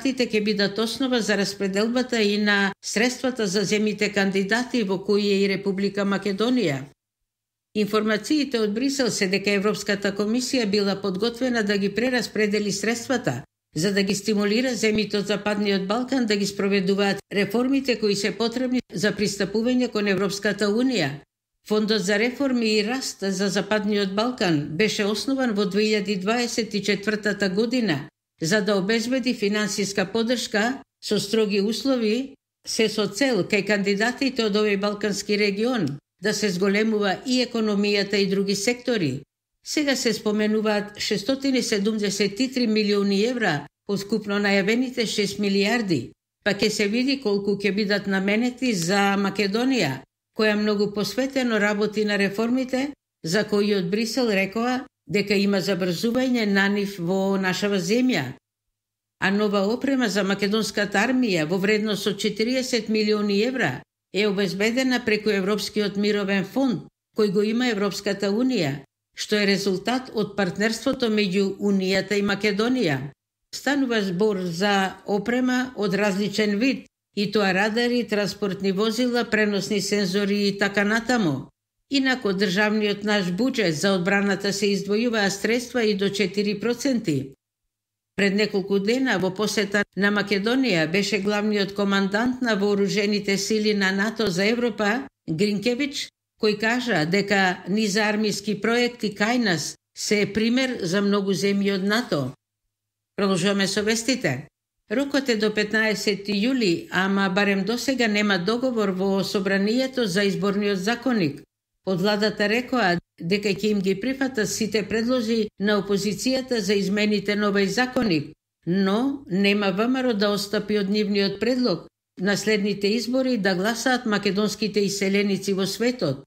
кандидатите ќе бидат основа за распределбата и на средствата за земите кандидати во кои е и Република Македонија. Информациите од Брисел се дека Европската комисија била подготвена да ги прераспредели средствата, за да ги стимулира земите од Западниот Балкан да ги спроведуваат реформите кои се потребни за пристапување кон Европската Унија. Фондот за реформи и раст за Западниот Балкан беше основан во 2024 година за да обезбеди финансиска поддршка со строги услови, се со цел кај кандидатите од овој балкански регион да се зголемува и економијата и други сектори. Сега се споменуваат 673 милиони евра од скупно најавените 6 милиарди, па ќе се види колку ќе бидат наменети за Македонија, која многу посветено работи на реформите, за кои од Брисел рекоа дека има забрзување на нив во нашава земја. А нова опрема за македонската армија во вредност од 40 милиони евра е обезбедена преку Европскиот мировен фонд, кој го има Европската Унија, што е резултат од партнерството меѓу Унијата и Македонија. Станува збор за опрема од различен вид, и тоа радари, транспортни возила, преносни сензори и така натаму. Инако државниот наш буџет за одбраната се издвојуваа средства и до 4%. Пред неколку дена во посета на Македонија беше главниот командант на вооружените сили на НАТО за Европа, Гринкевич, кој кажа дека низ армиски проекти кај нас се е пример за многу земји од НАТО. Продолжуваме со вестите. Рокот е до 15 јули, ама барем досега нема договор во собранието за изборниот законник. Од владата рекоа дека ќе им ги прифатат сите предлози на опозицијата за измените на овој законник, но нема ВМРО да отстапи од нивниот предлог на следните избори да гласаат македонските иселеници во светот.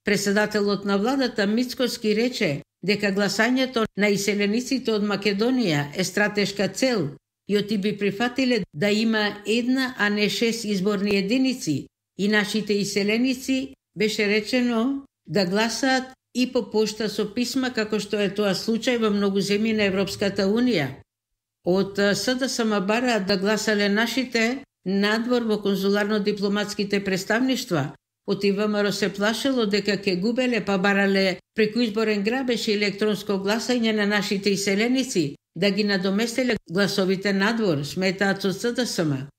Председателот на владата Мицкоски рече дека гласањето на иселениците од Македонија е стратешка цел и оти би прифатиле да има една, а не 6 изборни единици и нашите иселеници беше речено да гласаат и по пошта со писма, како што е тоа случај во многу земји на Европската Унија. Од СДСМ бараат да гласале нашите надвор во конзуларно-дипломатските представништва. Оти ВМРО се плашело дека ќе губеле па барале преку изборен грабеж и електронско гласање на нашите иселеници да ги надоместеле гласовите надвор, сметаат од СДСМ.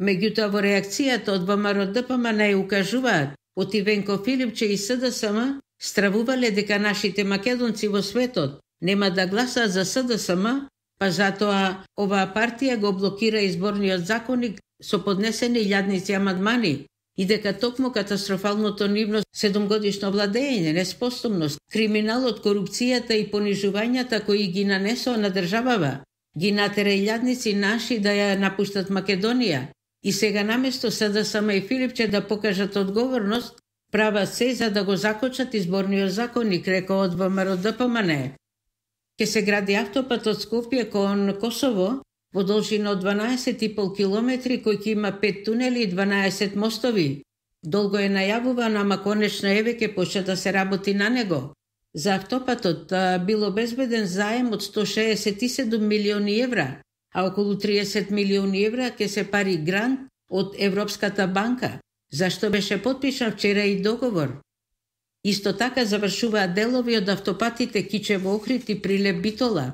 Меѓутоа во реакцијата од ВМРО ДПМН укажуваат оти Венко Филипче и СДСМ стравувале дека нашите македонци во светот нема да гласаат за СДСМ, па затоа оваа партија го блокира изборниот законник со поднесени илјадници амандмани и дека токму катастрофалното нивно 7-годишно владење, неспособност, криминалот, корупцијата и понижувањата кои ги нанесоа на државава, ги натера илјадници наши да ја напуштат Македонија. И сега наместо СДСМ и Филипче да покажат одговорност, прават се за да го закочат изборниот законник, рекоа од ВМРО ДПМН. Ке се гради автопат од Скопје кон Косово во должина од 12,5 километри, кој ќе има 5 тунели и 12 мостови. Долго е најавувано, ама конечно еве ќе почне да се работи на него. За автопатот бил обезбеден заем од 167 милиони евра, а околу 30 милиони евра ќе се пари грант од Европската банка, зашто беше подпишан вчера и договор. Исто така завршуваат делови од автопатите Кичево-Охрид и Прилеп-Битола.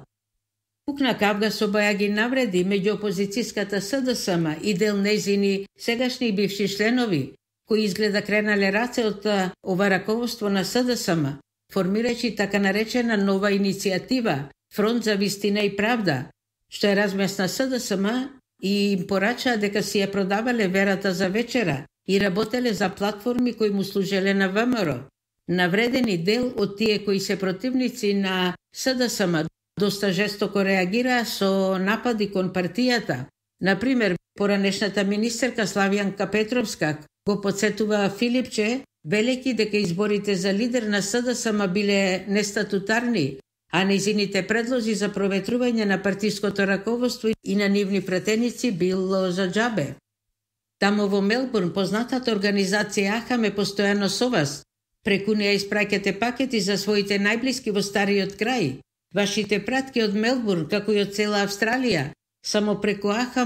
Пукна кавга со бајаги навреди меѓу опозицијската СДСМ и дел незини сегашни и бивши членови, кои изгледа кренале раце од ова раководство на СДСМ, формирајќи така наречена нова иницијатива Фронт за вистина и правда, што е размесна СДСМ и им порачаа дека си ја продавале верата за вечера и работеле за платформи кои му служеле на ВМРО. Навредени дел од тие кои се противници на СДСМ доста жестоко реагираа со напади кон партијата. Например, поранешната министерка Славјанка Петровска го подсетува Филипче, велејќи дека изборите за лидер на СДСМ биле нестатутарни, а нејзините предлози за проветрување на партиското раководство и на нивни пратеници било за џабе. Тамо во Мелбурн познатата организација АХАМ е постојано со вас. Преку неја испраќате пакети за своите најблиски во стариот крај. Вашите пратки од Мелбурн, како и од цела Австралија, само преку АХАМ